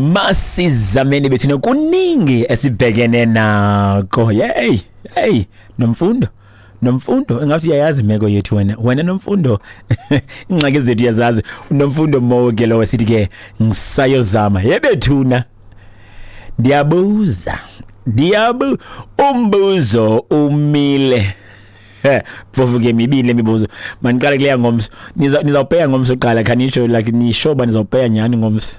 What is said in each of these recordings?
Masizameni bethuna, kuningi esibhekene nako. Hey hey, Nomfundo, Nomfundo, engathi uyayazi imeko yethu wena, wena Nomfundo, ingxaki zethu uyazazi. Nomfundo Moke lo sithi ke ngisayozama yebethuna. Ndiyabuza, ndiyabu umbuzo umile. Phofu ke mibini le mibuzo. Maniqale kuleya ngomso. Nizawupeya ngomso kuqala, khanisho like nisho ba nizawupeya nyani ngomso.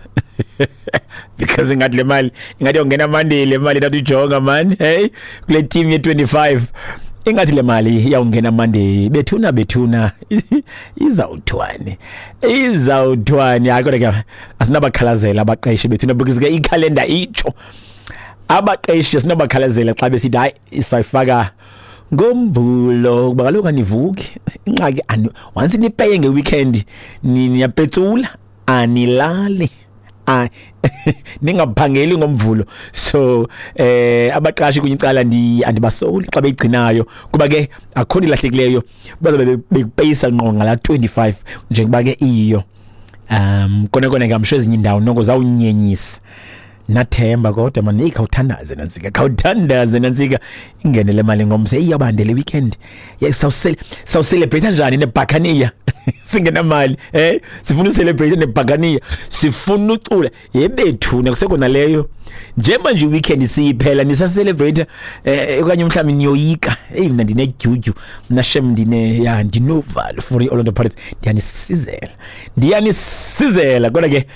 Because ingathi le mali ingathi yongena Monday, le mali thathu ijonga man. Hey, kule team ye 25 ingathi le mali iyawungena Monday. Bethuna bethuna, izawuthwani, izawuthwani. Hayi kodwa ke asinabakhalazela abaqeshi bethuna, because ke ikhalenda itsho abaqeshi sinabakhalazela xa besithi hayi isayifaka ngomvulo, kuba kaloku anivuki. Ingxaki once nipeye ngeweekend niyapetsula, anilali, ningaphangeli ngomvulo. So abaqashi kunye icala andibasoli xa beyigcinayo, kuba ke akho nto ilahlekileyo, bazobe bekupeyisa ngqo ngala 25 njengoba ke iyo. Kona kona ngamsho ezinye indawo noko zawunyenyisa nathemba, kodwa man, hey, khawuthandaze nantsika, khawuthandaze nantsika, ingene le mali ngomso. Iyabande le weekend, sawucelebrate njani nebhakaniya singenamali? Sifuna ucelebrate nebhakaniya, sifuna ucula yebethuna kusekona leyo. Njengoba nje weekend siyiphela nisacelebrate, okanye mhlawumbi niyoyika. Hey, mina ndinedyudyu mna shem, ndine ya ndinovalo for i-Orlando Pirates, ndiyanisizela, ndiyanisizela. Kodwa ke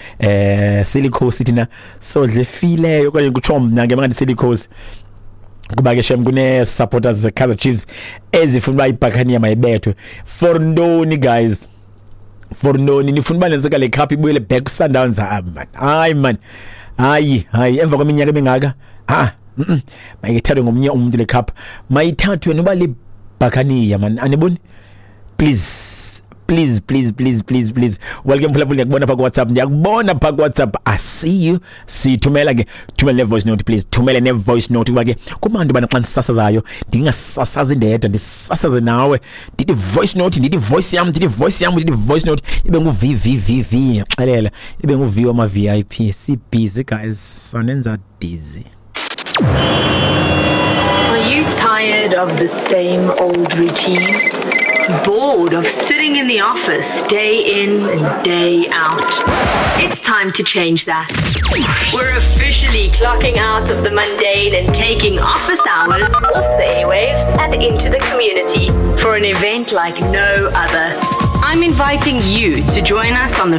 silikhosi thina, sodle fileyo, okanye kutsho mna ke mangathi silikhosi, kuba ke shem kune supporters ze Kaizer Chiefs ezifuna uba ibhakaniya mayibethwe. For ntoni guys? For ntoni nifuna uba nenzeka le cup ibuyele back ku Sundowns? Ah man, hayi man, hayi hayi, emva kweminyaka emingaka, ah mayithathwe ngomnye umuntu le cup, mayithathwe noba le bhakaniya man, aniboni? Please please please please please please. Welcome mphulaphuli, ndiyakubona pha ku WhatsApp, ndiyakubona pha ku WhatsApp, I see you. Sithumela ke, thumele ne voice note please, thumele ne voice note, kuba ke kubantu bana xa ndisasazayo ndingasasazi ndedwa, ndisasaze nawe. Ndithi voice note, ndithi voice yam, ndithi voice yam, ndithi voice note ibe ngu V V V V, xelela ibe ngu V wama VIP. Si busy guys, sonenza dizzy. Are you tired of the same old routine? Bored of sitting in the office day in and day out? It's time to change that. We're officially clocking out of the mundane and taking office hours off the airwaves and into the community for an event like no other. I'm inviting you to join us on the